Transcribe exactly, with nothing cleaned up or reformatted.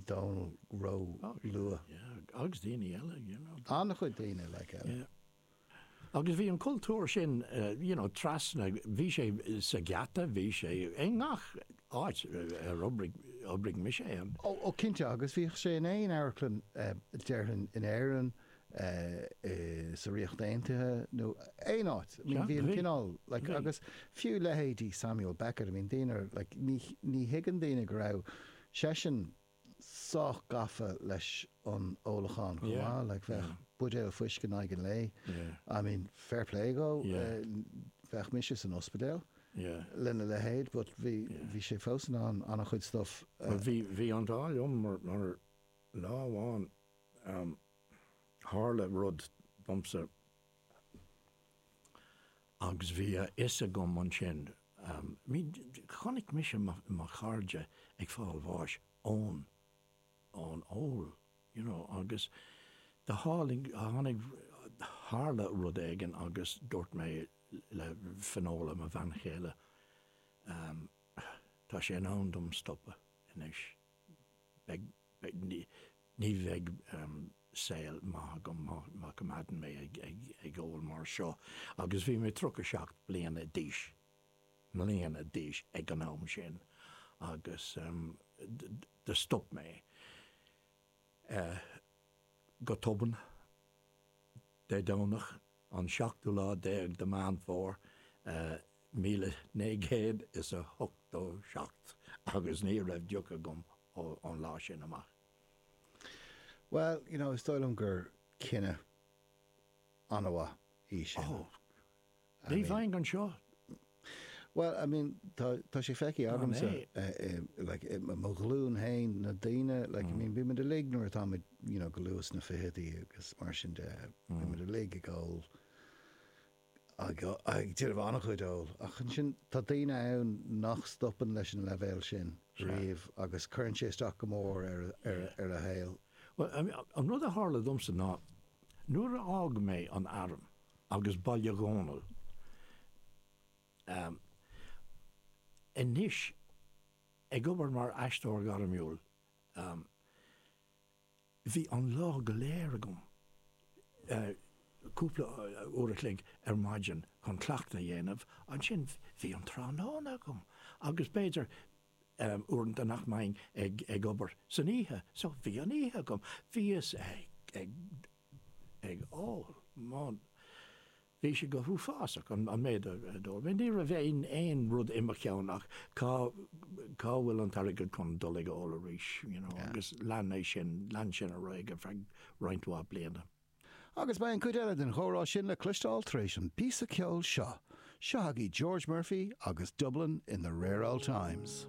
Dónal ró-luath. Yeah, agus daoine eile, you know. An-chuid daoine, like, eile. Yeah. Agus bhí an cultúr sin, you know, trasna, bhí sé sa Gheata, bhí sé i ngach áit ar oibrigh, oibrigh mise ann. Ó, ó cinnte, agus bhíodh sé in aon amharclann, déarfainn, in Éirinn, sa Ríocht Aontaithe nó aon áit. I mean, bhí an cineál, like, agus fiú leithéidí Samuel Beckett, I mean, daoine, like, ní, ní thuigeann daoine go raibh seisean sách gafa leis an ólachán chomh maith, like, bheadh buidéal fuisce in aghaidh an lae. I mean, fair play dhó, bheadh mise san ospidéal lena leithéid, but bhí, bhí sé fós in ann an-chuid stuff. Bhuel, bhí, bhí an t-ádh liom mar, mar lá amháin, tharla rud domsa agus bhí a fhios agam ansin, I mean, chonaic mise mo, mo chairde ag fáil bháis ón, ón ól, you know, agus do tháinig, tháinig, tharla rud éigin agus dúirt mé le Finola, mo bhean chéile, tá sé in am dom stopadh anois, beidh, beidh, ní, ní bheidh saol maith agam má, má choimeádann mé ag, ag, ag ól mar seo. Agus bhí mé tríocha seacht bliana d'aois, mbliana d'aois ag an am sin agus do stop mé go tobann Dé Domhnach an seachtú lá déag de Meán Fómhair míle naoi gcéad is a hochtó seacht agus ní raibh deoch agam ón lá sin amach. Bhuel, you know, is dóigh liom gur cinneadh an-mhaith í sin. Oh, ní bheinn anseo. Bhuel, I mean, tá, tá sé feicthe agamsa, like, i mo ghlúin féin, na daoine, like, I mean, bímid uilig nuair atáimid, you know, go luath sna fichidí agus mar sin de, bímid uilig ag ól, ag, ag déanamh an-chuid óil. Ach ansin, tá daoine ann nach stopann leis an leibhéal sin riamh agus cuireann sé isteach go mór ar, ar, ar a shaol. Bhuel, I mean, an rud a tharla domsa ná, nuair a fhág mé an arm agus Baile Dhónaill, Anois, ag obair mar aisteoir gairmiúil, bhí an lá go léir agam, cúpla uair a chloig ar maidin chun cleachtadh a dhéanamh, ansin bhí an tráthnóna agam agus b'fhéidir uaireanta nach mbeinn ag obair san oíche, so bhí an oíche agam. Bhíos ag ag ól, Bhí sé go huafásach an méid a d'ól mé. Ní raibh aon aon rud i mo cheann ach cá cá bhfuil an t-airgead chun dul ag ól arís, you know, agus lean é sin, lean sin ar aghaidh ar feadh roinnt mhaith bliana. Agus beidh an chuid eile den chomhrá sin le cloisteáil tar éis an píosa ceoil seo. Seo agaibh George Murphy agus Dublin in the Rare Old Times.